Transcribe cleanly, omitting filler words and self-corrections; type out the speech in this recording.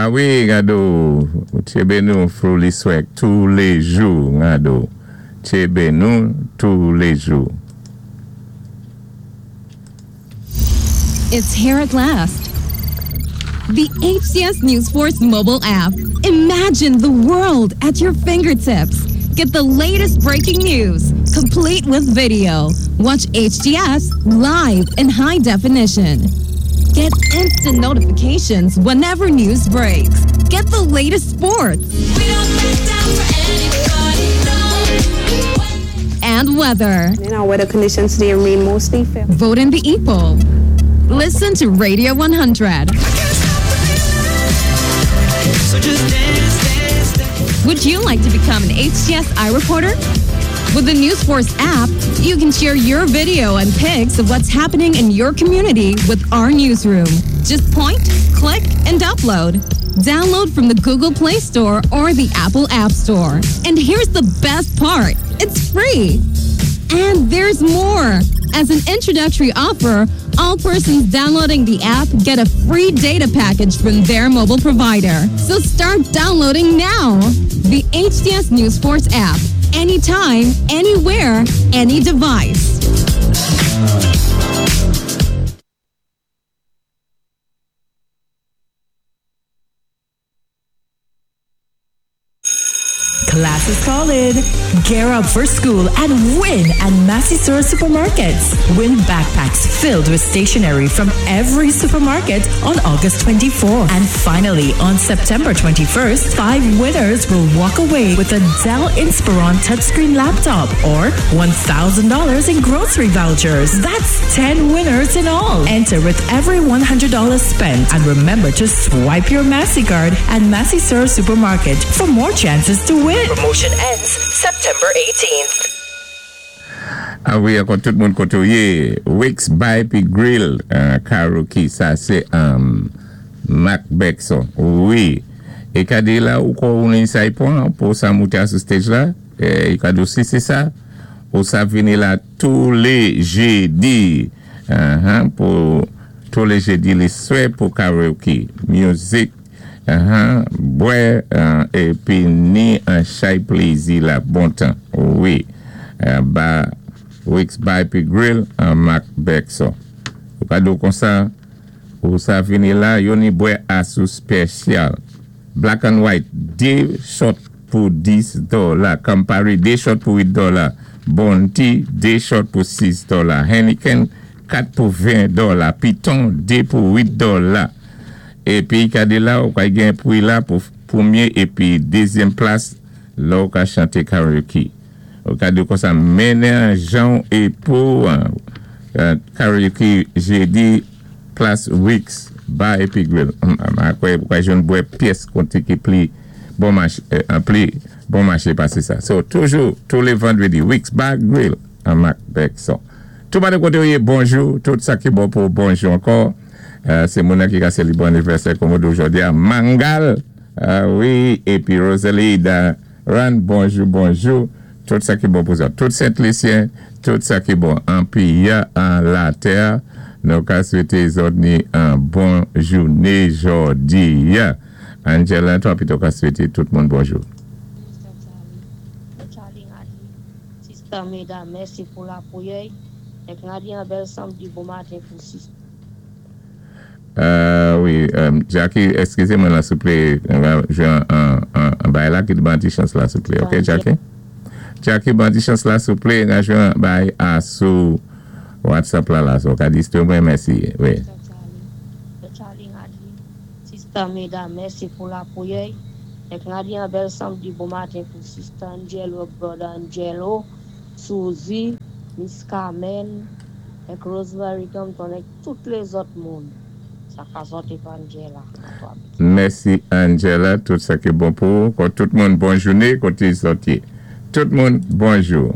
A wi, gado, tchébé nou through liswè touléjou, gado. Tchébé nou touléjou. It's here at last. The HTS News Force mobile app. Imagine the world at your fingertips. Get the latest breaking news, complete with video. Watch HTS live in high definition. Get instant notifications whenever news breaks. Get the latest sports. And weather. In our weather conditions today remain mostly fair. Vote in the e-poll. Listen to Radio 100. Would you like to become an HTS iReporter? With the News Force app, you can share your video and pics of what's happening in your community with our newsroom. Just point, click, and upload. Download from the Google Play Store or the Apple App Store. And here's the best part. It's free. And there's more. As an introductory offer, all persons downloading the app get a free data package from their mobile provider. So start downloading now. The HTS News Force app. Anytime, anywhere, any device. Class is calling. Gear up for school and win at Massy Store Supermarkets. Win backpacks filled with stationery from every supermarket on August 24. And finally, on September 21st, five winners will walk away with a Dell Inspiron touchscreen laptop or $1,000 in grocery vouchers. That's 10 winners in all. Enter with every $100 spent and remember to swipe your Massy card at Massy Store Supermarket for more chances to win. Promotion ends September 18th. A wi, ankò tout moun koté ou yé. Wix Bar pi Grill, karaoke, sa sé Mac Bexon. Wi. É kadi la ou ko ou ni sa y pwan pou sa mouté sou stage la, é kadi si sé sa, ou sa vini la toulé jédi. Pou toulé jédi liswè pou karaoke. Music, bwè, épi ni an chay plézi la bon tan. Wi. Ba Wix Bar pi Grill, Mac Bexon. Ou ka di konsa, ou sa vini la, yo ni bwè asou spesyal. Black and white, 2 shot pou 10 dola. Campari, 2 shot pou 8 dola. Bounty, 2 shot pou 6 dola. Heineken, 4 pou 20 dola. Piton, 2 pou 8 dola. Épi, kadi la, ou ka gen pri la pou pwémyé épi dézyèm plas, la ou ka chanté karaoke. Ou ka di konsa, mennen jan é pou karaoke jédi plas Wix Bar épi Grill. Akwè, ou ka jwenn bwè pyès konté ki pli bon maché, pli bon maché pasé sa. So, toujou, toulé vandrédi, Wix Bar Grill, an Mac Bexon. Tout moun koté ou yé, bonjou, tout sa ki bon pou bonjou ankò. Sé moun ki ka sélébré anivèsè kòm jòdi a Mangal. Wi, épi Rosalie Ran, bonjou, bonjou. Tout sa ki bon pou sa. Tout Sent-Lisyen, tout sa ki bon an péyi an latè. Nou ka swété zòt ni an bon jouné jòdi. Angela, twa pito ka swété tout moun bonjou. Mr. Charlie, Charlie Ngadi, Sister Meda, mèsi pou lapwiyè. Èk Ngadi an bèl sanmdi bon maten pou sister. Wi, Jackie, eskizé mwen la souplé. Jwé an bay la ki ban ti chans la souplé. Ok, Jackie? Jackie, ban ti chans la souplé. N jwé an bay a sou WhatsApp la la. So, ka di mwen mèsi. Wi. Mr. Charlie, Charlie Ngadi, Sister Meda, mèsi pou lapwiyè. Èk Ngadi an bèl sanmdi bon maten pou Sister Angelo, Brother Angelo, Suzy, Miss Carmen, èk Rosemary Compton, èk tout lézòt moun. Sa ka sòti pa Angela. Mèsi Angela, tout sa ki bon pou ou. Tout moun bon jouné koté sòti. Tout moun bonjou.